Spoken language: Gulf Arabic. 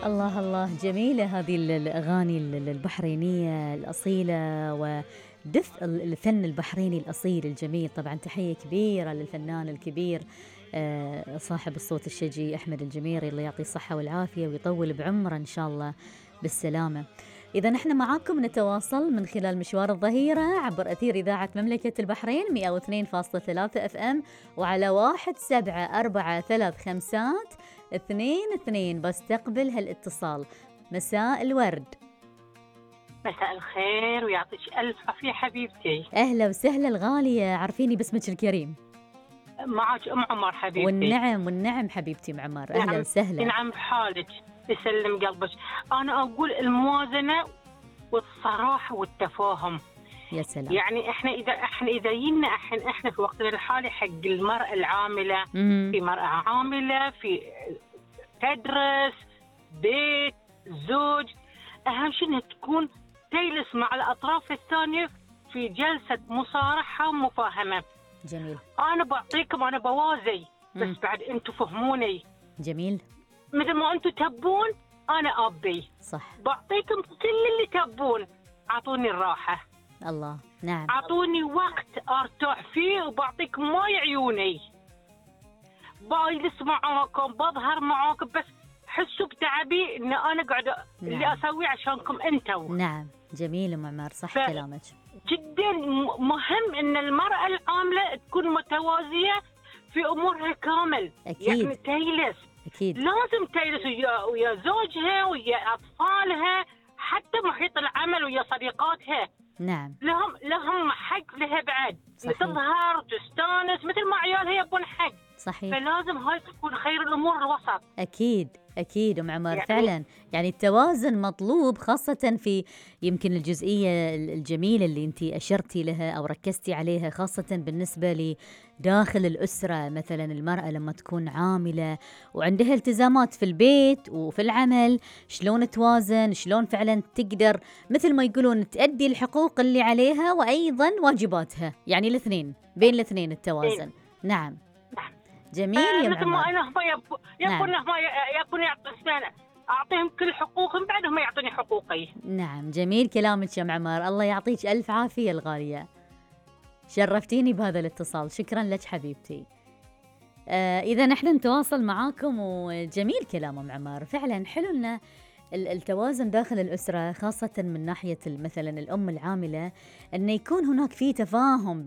الله الله، جميلة هذه الأغاني البحرينية الأصيلة، ودفء الفن البحريني الأصيل الجميل. طبعا تحية كبيرة للفنان الكبير صاحب الصوت الشجي أحمد الجميري، الله يعطيه الصحة والعافية ويطول بعمره إن شاء الله بالسلامة. إذا نحن معاكم نتواصل من خلال مشوار الظهيرة عبر أثير إذاعة مملكة البحرين 102.3 FM، وعلى 17435222 بستقبل هالاتصال. مساء الورد. مساء الخير ويعطيك ألف عافية حبيبتي. أهلا وسهلا الغالية، عرفيني باسمك الكريم. معك أم عمر حبيبتي. والنعم حبيبتي أم عمر، أهلا وسهلا. نعم بحالك، يسلم قلبك. أنا أقول الموازنة والصراحة والتفاهم. يا سلام. يعني احنا اذا جينا احنا في وقتنا الحالي حق المرأة العاملة، في مرأة عاملة في تدرس بيت زوج، اهم شيء انها تكون تجلس مع الاطراف الثانية في جلسة مصارحة ومفاهمة. جميل. انا بعطيكم، انا بوازي بس بعد انتم فهموني. جميل. مثل ما انتم تبون انا ابي. صح. بعطيكم كل اللي تبون، اعطوني الراحة. الله. نعم. أعطوني وقت أرتاح فيه وبعطيكم ماي عيوني، بجلس معاكم بظهر معاكم، بس حسوا بتعبي إن أنا قاعدة اللي أسويه عشانكم أنتوا. نعم. جميل أم عمار، صح كلامك. جدا مهم إن المرأة العاملة تكون متوازية في أمورها كامل. أكيد. يعني تجلس، أكيد لازم تجلس ويا زوجها ويا أطفالها، حتى محيط العمل ويا صديقاتها. نعم. لهم حق لها بعد، تظهر وتستانس مثل ما عيالها يبون حق. صحيح. فلازم هاي تكون خير الأمور الوسط. أكيد أم عمر، يعني فعلا يعني التوازن مطلوب، خاصة في يمكن الجزئية الجميلة اللي أنت أشرتي لها أو ركزتي عليها، خاصة بالنسبة لداخل الأسرة. مثلا المرأة لما تكون عاملة وعندها التزامات في البيت وفي العمل، شلون توازن، شلون فعلا تقدر مثل ما يقولون تأدي الحقوق اللي عليها وأيضا واجباتها، يعني الاثنين، بين الاثنين التوازن. نعم. جميل يا مثل ما عمر. أنا يبون أعطيهم كل حقوقهم، بعدهم يعطوني حقوقي. نعم. جميل كلامك يا عمر، الله يعطيك ألف عافية الغالية، شرفتيني بهذا الاتصال، شكرا لك حبيبتي. إذا نحن نتواصل معاكم، وجميل كلام أم عمر، فعلا حلو لنا التوازن داخل الأسرة، خاصة من ناحية مثلا الأم العاملة، أن يكون هناك في تفاهم